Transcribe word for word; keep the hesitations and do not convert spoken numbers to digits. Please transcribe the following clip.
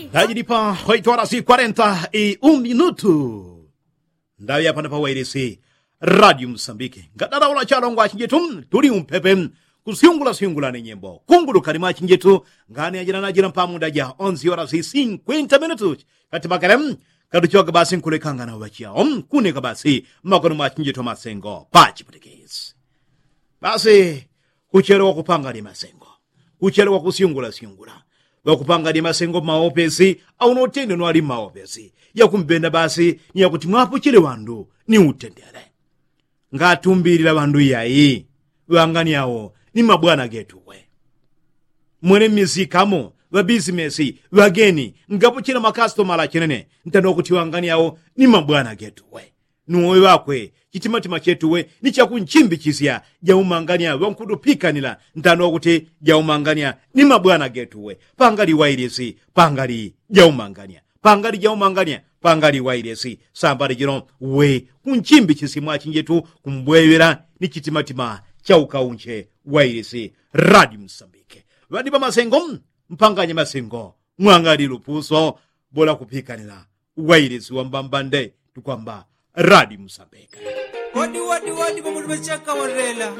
Ndajilipa hoitwala si kwarenta i uminutu. Ndaŵi apano pa wailisi radio msambiki ngadalaula chalongwa achinjitu tuli umpepe kusyungula syungula ni nyimbo kungulukani mwa achinjitu. Ngani ajila najila mpamunda ja onzi ora si sinkwinta minutu kati makele katuchoka basi nkulekangana wachiyao kuneka basi mmakono mwa achinjitu masengo pachiputikisi. Basi kuchelewa kupanga ni masengo kuchelewa kusyungula syungula ŵakupanga ni masengo mmaopesi au notende nwali mmaopesi yakumbenda basi ni yakuti mwapuchile ŵandu ni utendele. Ngatumbilila ŵandu yayi ŵangani awo ni mabwana getuwe. Mwene mmisikamo ŵabisimesi ŵageni ngapuchila makasitomala chinene ntano kuti ŵangani awo ni mabwana getuwe. Nuwe ŵakwe chitimatima chetuwe ni chakunchimbichisya jaumanganya ŵankutupikanila ntano kuti jaumanganya ni mabwana getuwe. Pangali wailisi pangali jaumanganya pangali jaumanganya pangali wailisi sambali jino we kunchimbichisya mwachinjetu kumbweŵela ni chitimatima chaukaunche. Wailisi radio msambike ŵadi pamasengo mpanganye masengo mwangali lupuso bola kupikanila. Wailisi wambambande tukwamba radio msambike. Wadi wadi wadi pamutu pachaka warela.